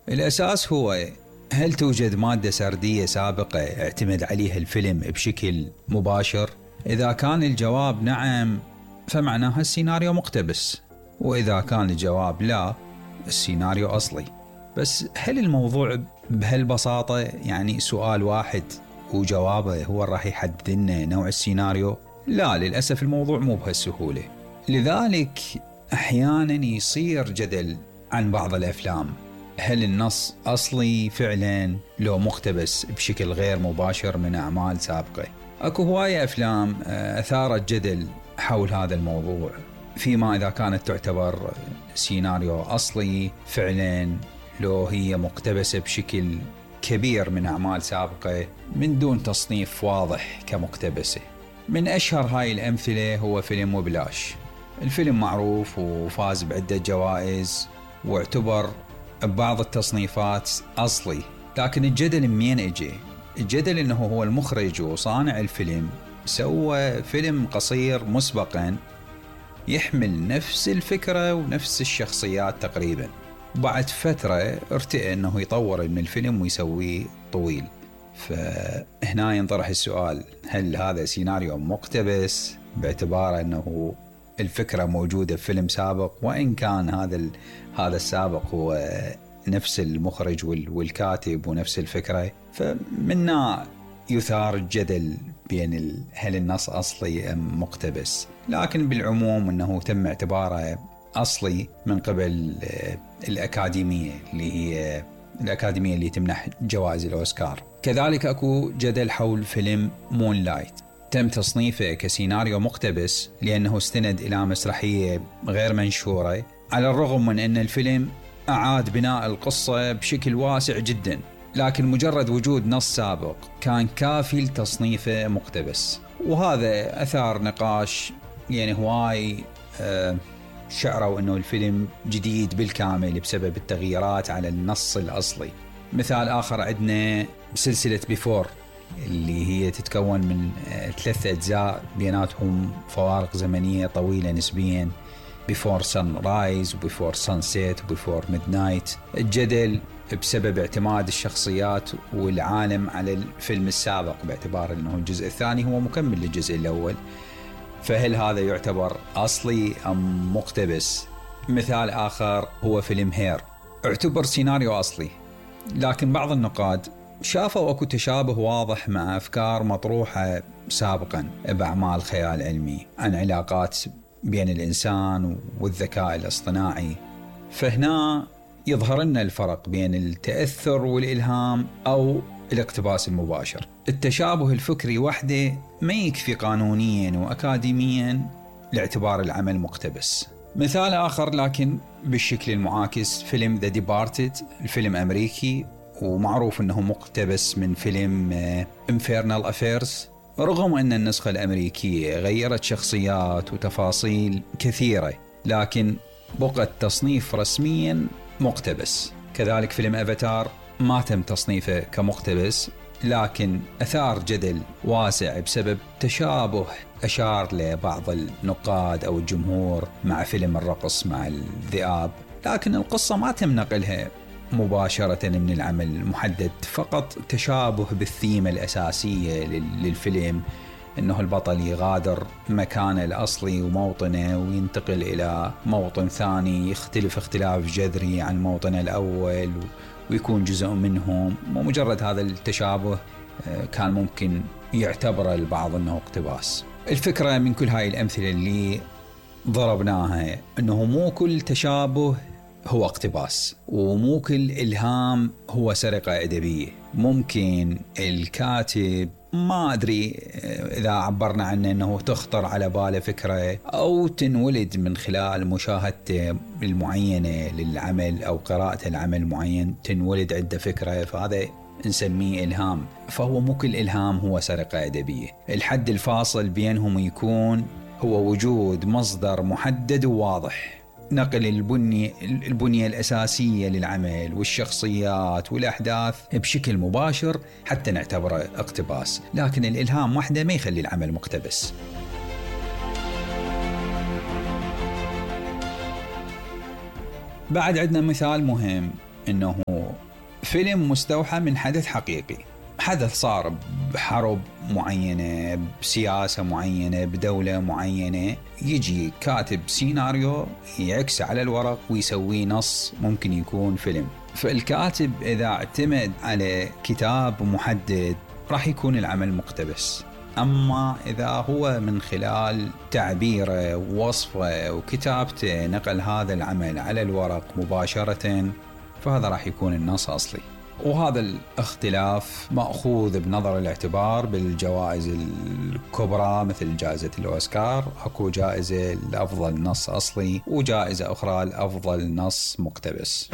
الأساس هو هل توجد مادة سردية سابقة اعتمد عليها الفيلم بشكل مباشر؟ إذا كان الجواب نعم فمعناها السيناريو مقتبس، وإذا كان الجواب لا السيناريو أصلي. بس هل الموضوع بهالبساطة؟ يعني سؤال واحد وجوابه هو راح يحدد لنا نوع السيناريو؟ لا، للأسف الموضوع مو بهالسهولة. لذلك أحيانا يصير جدل عن بعض الأفلام، هل النص أصلي فعلا لو مقتبس بشكل غير مباشر من أعمال سابقة؟ أكو هواية أفلام أثارت جدل حول هذا الموضوع، فيما إذا كانت تعتبر سيناريو أصلي فعلا لو هي مقتبسة بشكل كبير من أعمال سابقة من دون تصنيف واضح كمقتبسة. من أشهر هاي الأمثلة هو فيلم وبلاش. الفيلم معروف وفاز بعدة جوائز واعتبر ببعض التصنيفات أصلي، لكن الجدل منين اجى؟ الجدل انه هو المخرج وصانع الفيلم سوى فيلم قصير مسبقا يحمل نفس الفكرة ونفس الشخصيات تقريبا، وبعد فترة ارتئى انه يطور من الفيلم ويسويه طويل. فهنا ينطرح السؤال، هل هذا سيناريو مقتبس باعتبار انه الفكرة موجودة في فيلم سابق، وإن كان هذا السابق هو نفس المخرج والكاتب ونفس الفكرة؟ فمنا يثار الجدل بين هل النص أصلي أم مقتبس، لكن بالعموم أنه تم اعتباره أصلي من قبل الأكاديمية اللي هي الأكاديمية اللي تمنح جوائز الأوسكار. كذلك أكو جدل حول فيلم مون لايت، تم تصنيفه كسيناريو مقتبس لأنه استند إلى مسرحية غير منشورة، على الرغم من أن الفيلم أعاد بناء القصة بشكل واسع جدا، لكن مجرد وجود نص سابق كان كافي لتصنيفه مقتبس. وهذا أثار نقاش، يعني هواي شعروا أنه الفيلم جديد بالكامل بسبب التغييرات على النص الأصلي. مثال آخر عندنا سلسلة بيفور اللي هي تتكون من 3 أجزاء بيناتهم فوارق زمنية طويلة نسبيا، Before Sunrise وBefore Sunset وBefore Midnight. الجدل بسبب اعتماد الشخصيات والعالم على الفيلم السابق باعتبار أنه الجزء الثاني هو مكمل للجزء الأول، فهل هذا يعتبر أصلي أم مقتبس؟ مثال آخر هو فيلم هير، اعتبر سيناريو أصلي، لكن بعض النقاد شافوا أكو تشابه واضح مع أفكار مطروحة سابقا بأعمال خيال علمي عن علاقات بين الإنسان والذكاء الاصطناعي. فهنا يظهر لنا الفرق بين التأثر والإلهام أو الاقتباس المباشر. التشابه الفكري وحده ما يكفي قانونيا وأكاديميا لاعتبار العمل مقتبس. مثال آخر لكن بالشكل المعاكس، فيلم The Departed، الفيلم أمريكي ومعروف أنه مقتبس من فيلم Infernal Affairs، رغم أن النسخة الأمريكية غيرت شخصيات وتفاصيل كثيرة، لكن بقت تصنيف رسميا مقتبس. كذلك فيلم أفاتار ما تم تصنيفه كمقتبس، لكن أثار جدل واسع بسبب تشابه أشار لبعض النقاد أو الجمهور مع فيلم الرقص مع الذئاب، لكن القصة ما تم نقلها مباشرة من العمل المحدد، فقط تشابه بالثيمة الأساسية للفيلم، أنه البطل يغادر مكانه الأصلي وموطنه وينتقل إلى موطن ثاني يختلف اختلاف جذري عن موطنه الأول ويكون جزء منهم. ومجرد هذا التشابه كان ممكن يعتبر البعض أنه اقتباس. الفكرة من كل هاي الأمثلة اللي ضربناها أنه مو كل تشابه هو اقتباس، ومو كل إلهام هو سرقة أدبية. ممكن الكاتب ما أدري إذا عبرنا عنه أنه تخطر على باله فكرة أو تنولد من خلال مشاهدته المعينة للعمل أو قراءة العمل المعين، تنولد عنده فكرة، فهذا نسميه إلهام. فهو مو كل إلهام هو سرقة أدبية. الحد الفاصل بينهم يكون هو وجود مصدر محدد وواضح، نقل البنية الأساسية للعمل والشخصيات والأحداث بشكل مباشر حتى نعتبره اقتباس، لكن الإلهام وحده ما يخلي العمل مقتبس. بعد عندنا مثال مهم انه فيلم مستوحى من حدث حقيقي، حدث صار بحرب معينة، بسياسة معينة، بدولة معينة، يجي كاتب سيناريو يعكس على الورق ويسوي نص ممكن يكون فيلم. فالكاتب إذا اعتمد على كتاب محدد راح يكون العمل مقتبس، أما إذا هو من خلال تعبيره ووصفه وكتابته نقل هذا العمل على الورق مباشرة، فهذا راح يكون النص أصلي. وهذا الاختلاف مأخوذ بنظر الاعتبار بالجوائز الكبرى مثل جائزة الأوسكار. أكو جائزة لأفضل نص أصلي وجائزة أخرى لأفضل نص مقتبس.